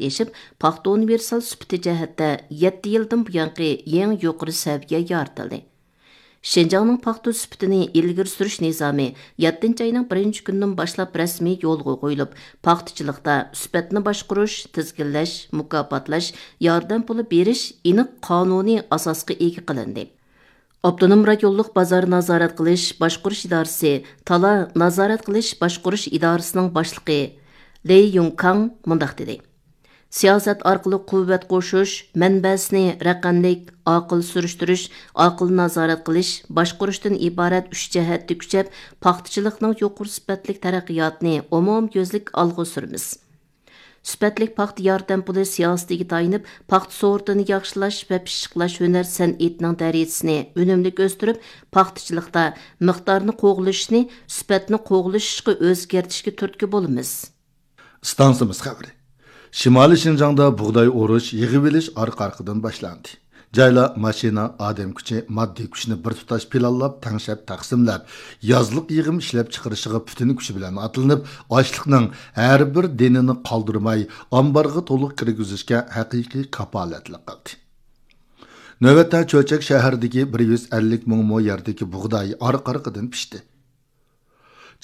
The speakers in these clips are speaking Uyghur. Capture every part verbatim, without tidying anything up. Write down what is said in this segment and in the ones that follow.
ئېشىپ، پاختا ئۇنىۋېرسال سۈپىتى جەھەتتە يەتتە يىلدىن بۇيانقى يېڭى يۇقىرى سەۋىيە يارىتىلدى. شىنجاڭنىڭ پاختا سۈپىتىنى ئىلگىرى سۈرۈش نىزامى يەتتىنچى ئاينىڭ بىرىنچى كۈنىدىن باشلاپ رەسمىي يولغا قويۇلۇپ، پاختىچىلىقتا سۈپەتنى باشقۇرۇش، تىزگىنلەش، مۇكاپاتلاش، ياردەم پۇلى بېرىش ئېنىق قانۇنىي ئاساسقا ئىگە قىلىندى. ئاپتونوم رايونلۇق بازار نازارەت قىلىش باشقۇرۇش ئىدارىسى تالا نازارەت قىلىش باشقۇرۇش ئىدارىسىنىڭ باشلىقى لېي يۇڭكاڭ مۇنداق دېدى: سىياسەت ئارقىلىق قۇۋۋەت قوشۇش، مەنبەسىنى رەقەملىك، ئاقىل سۈرۈشتۈرۈش، ئاقىل نازارەت قىلىش، باشقۇرۇشتىن ئىبارەت ئۈچ جەھەتتە كۈچەپ، پاختىچىلىقنىڭ يۇقىرى سۈپەتلىك تەرەققىياتىنى ئومۇميۈزلۈك ئالغا سۈرىمىز. سۈپەتلىك پاختا ياردەم پۇلى سىياسىتىگە تايىنىپ، پاختا سورتىنى ياخشىلاش ۋە پىششىقلاش ھۈنەر سەنئىتىنىڭ دەرىجىسىنى ئۈنۈملۈك ئۆستۈرۈپ، پاختىچىلىقتا مىقدارنى قوغلىشىشنى سۈپەتنى قوغلىشىشقا ئۆزگەرتىشكە تۈرتكە بولىمىز. ئىستانسىمىز خەۋىرى. شىمالىي شىنجاڭدا بۇغداي ئورۇش، يىغىۋېلىش ئارقا-ئارقىدىن باشلاندى. جايلار ماشىنا، ئادەم كۈچى، ماددىي كۈچنى بىر تۇتاش پىلانلاپ، تەڭشەپ، تەقسىملەپ، يازلىق يىغىم ئىشلەپچىقىرىشىغا پۈتۈن كۈچى بىلەن ئاتلىنىپ، ئاشلىقنىڭ ھەر بىر دېنىنى قالدۇرماي، ئامبارغا تولۇق كىرگۈزۈشكە ھەقىقىي كاپالەتلىك قىلدى. نۆۋەتتە چۆچەك شەھىرىدىكى بىر يۈز ئەللىك مىڭ مو يەردىكى بۇغداي ئارقا-ئارقىدىن پىشتى.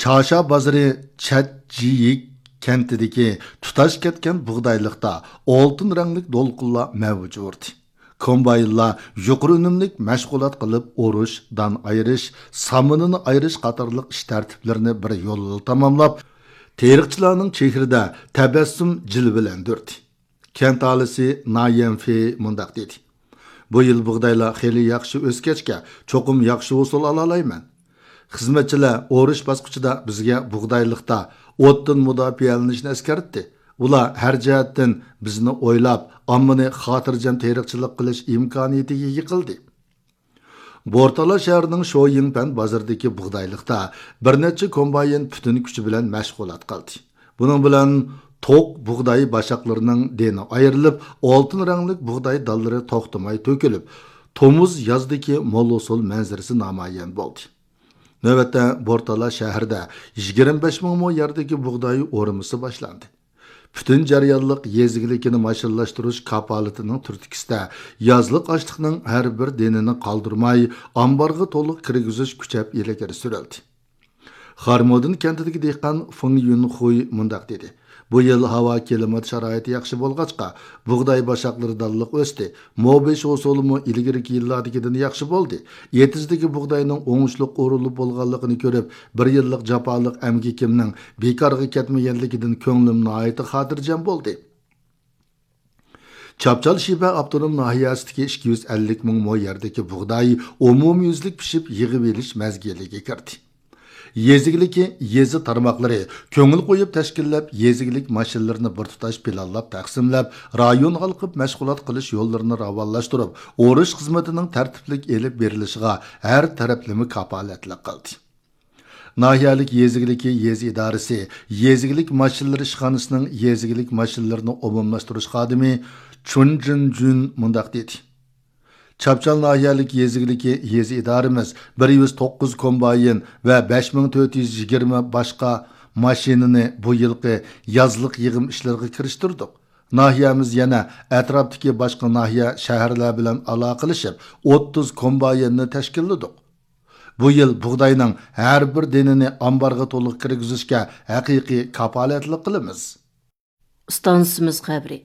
چاشا بازىرى چەتجىيىك كەنتىدىكى تۇتاش كەتكەن بۇغدايلىقتا ئالتۇن رەڭلىك دولقۇنلار مەۋج ئۇردى. كومباينلار يۇقىرى ئۈنۈملۈك مەشغۇلات قىلىپ، ئورۇش، دان ئايرىش، سامىنىنى ئايرىش قاتارلىق ئىش تەرتىپلىرىنى بىر يوللا تاماملاپ، تېرىقچىلارنىڭ چېھرىدە تەبەسسۇم جىلۋىلەندۈردى. كەنت ئاھالىسى نايەنفې مۇنداق دېدى: بۇ يىل بۇغدايلار خېلى ياخشى ئۆسكەچكە، چوقۇم ياخشى ھوسۇل ئالالايمەن. خىزمەتچىلەر ئورۇش باسقۇچىدا بىزگە بۇغدايلىقتا ئوتتىن مۇداپىئەلىنىشنى ئەسكەرتتى. ئۇلار ھەر جەھەتتىن بىزنى ئويلاپ، ئاممىنى خاتىرجەم تېرىقچىلىق قىلىش ئىمكانىيىتىگە ئىگە قىلدى. بورتالا شەھىرىنىڭ شويىڭپەن بازىرىدىكى بۇغدايلىقتا بىر نەچچە كومباين پۈتۈن كۈچى بىلەن مەشغۇلات قىلدى. بۇنىڭ بىلەن توق بۇغداي باشاقلىرىنىڭ دېنى ئايرىلىپ، ئالتۇن رەڭلىك بۇغداي دانلىرى توختىماي تۆكۈلۈپ، تومۇز يازدىكى مول ھوسۇل مەنزىرىسى نامايان بولدى. نۆۋەتتە بورتالا شەھىرىدە يىگىرمە بەش مىڭ مو يەردىكى بۇغداي ئورىمىسى باشلاندى. پۈتۈن جەريانلىق يېزا ئىگىلىكىنى ماشىنىلاشتۇرۇش كاپالىتىنىڭ تۈرتكىسىدە يازلىق ئاشلىقنىڭ ھەر بىر دېنىنى قالدۇرماي، ئامبارغا تولۇق كىرگۈزۈش كۈچەپ ئىلگىرى سۈرۈلدى. خارمودىن كەنتىدىكى دېھقان فېڭ يۈنخۇي مۇنداق دېدى: بۇ يىل ھاۋا كىلىمات شارائىتى ياخشى بولغاچقا، بۇغداي باشاقلىرى دانلىق ئۆستى. مو بېشى ھوسۇلىمۇ ئىلگىرىكى يىللاردىكىدىن ياخشى بولدى. ئېتىزدىكى بۇغداينىڭ ئوڭۇشلۇق ئورۇلۇپ بولغانلىقىنى كۆرۈپ، بىر يىللىق جاپالىق ئەمگىكىمنىڭ بىكارغا كەتمىگەنلىكىدىن كۆڭلۈم ناھايىتى خاتىرجەم بولدى. چاپچال شىبە ئاپتونوم ناھىيەسىدىكى ئىككى يۈز ئەللىك مىڭ مو يەردىكى بۇغداي ئومۇميۈزلۈك پىشىپ، يىغىۋېلىش مەزگىلىگە كىردى. يېزا ئىگىلىكى، يېزا تارماقلىرى كۆڭۈل قويۇپ تەشكىللەپ، يېزا ئىگىلىك ماشىنىلىرىنى بىر تۇتاش پىلانلاپ تەقسىملەپ، رايون ھالقىپ مەشغۇلات قىلىش يوللىرىنى راۋانلاشتۇرۇپ، ئورۇش خىزمىتىنىڭ تەرتىپلىك ئېلىپ بېرىلىشىغا ھەر تەرەپلىمە كاپالەتلىك قىلدى. ناھىيەلىك يېزا ئىگىلىكى يېزا ئىدارىسى يېزا ئىگىلىك ماشىنىلىرى ئىشخانىسىنىڭ يېزا ئىگىلىك ماشىنىلىرىنى ئومۇملاشتۇرۇش خادىمى چۇن جىنجۈن مۇنداق دېدى: چاپچال ناھىيەلىك يېزا ئىگىلىكى يېزا ئىدارىمىز بىر يۈز توققۇز كومباين ۋە بەش مىڭ تۆت يۈز يىگىرمە باشقا ماشىنىنى بۇ يىلقى يازلىق يىغىم ئىشلىرىغا كىرىشتۈردۇق. ناھىيەمىز يەنە ئەتراپتىكى باشقا ناھىيە، شەھەرلەر بىلەن ئالاقىلىشىپ، ئوتتۇز كومبايننى تەشكىللىدۇق. بۇ يىل بۇغداينىڭ ھەر بىر دېنىنى ئامبارغا تولۇق كىرگۈزۈشكە ھەقىقىي كاپالەتلىك قىلىمىز. ئىستانسىمىز خەۋىرى.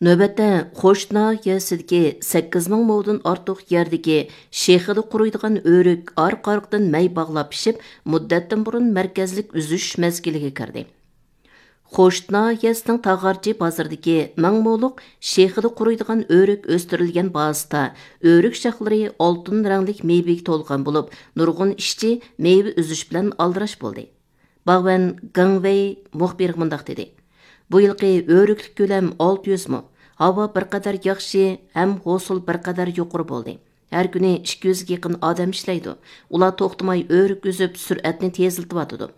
نۆۋەتتە خوش ناھىيەسىدىكى سەككىز مىڭ مودىن ئارتۇق يەردىكى شېخىدا قۇرۇيدىغان ئۆرۈك ئارقا-ئارقىدىن مەي باغلاپ پىشىپ، مۇددەتتىن بۇرۇن مەركەزلىك ئۈزۈش مەزگىلىگە كىردى. خوش ناھىيەسىنىڭ تاغارچى بازىرىدىكى مىڭ مولۇق شېخىدا قۇرۇيدىغان ئۆرۈك ئۆستۈرۈلگەن بازىسىدا ئۆرۈك شاخلىرى ئالتۇن رەڭلىك مېۋىگە تولغان بولۇپ، نۇرغۇن ئىشچى مېۋە ئۈزۈش بىلەن ئالدىراش بولدى. باغۋەن گېڭ ۋېي مۇخبىرغا مۇنداق دېدى: بۇ يىلقى ئۆرۈكلۈك كۆلەم ئالتە يۈز مو. ھاۋا بىر قەدەر ياخشى ھەم ھوسۇل بىر قەدەر يۇقىرى بولدى. ھەر كۈنى ئىككى يۈزگە يېقىن ئادەم ئىشلەيدۇ. ئۇلار توختىماي ئۆرۈك ئۈزۈپ، سۈرئەتنى تېزلىتىۋاتىدۇ.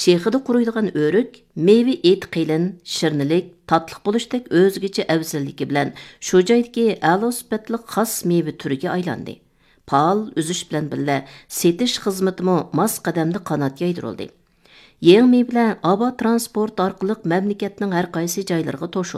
شېخىدا قۇرۇيدىغان ئۆرۈك مېۋە ئېتى قېلىن، شىرنىلىك، تاتلىق بولۇشتەك ئۆزگىچە ئەۋزەللىكى بىلەن شۇ جايدىكى ئەلا سۈپەتلىك خاس مېۋە تۈرىگە ئايلاندى. پائال ئۈزۈش بىلەن بىللە، سېتىش خىزمىتىمۇ ماس قەدەمدە قانات يايدۇرۇلدى. يېڭى مېۋىلەر ئاۋا تىرانسپورت ئارقىلىق مەملىكەتنىڭ ھەر قايسى جايلىرىغا توشۇلدى.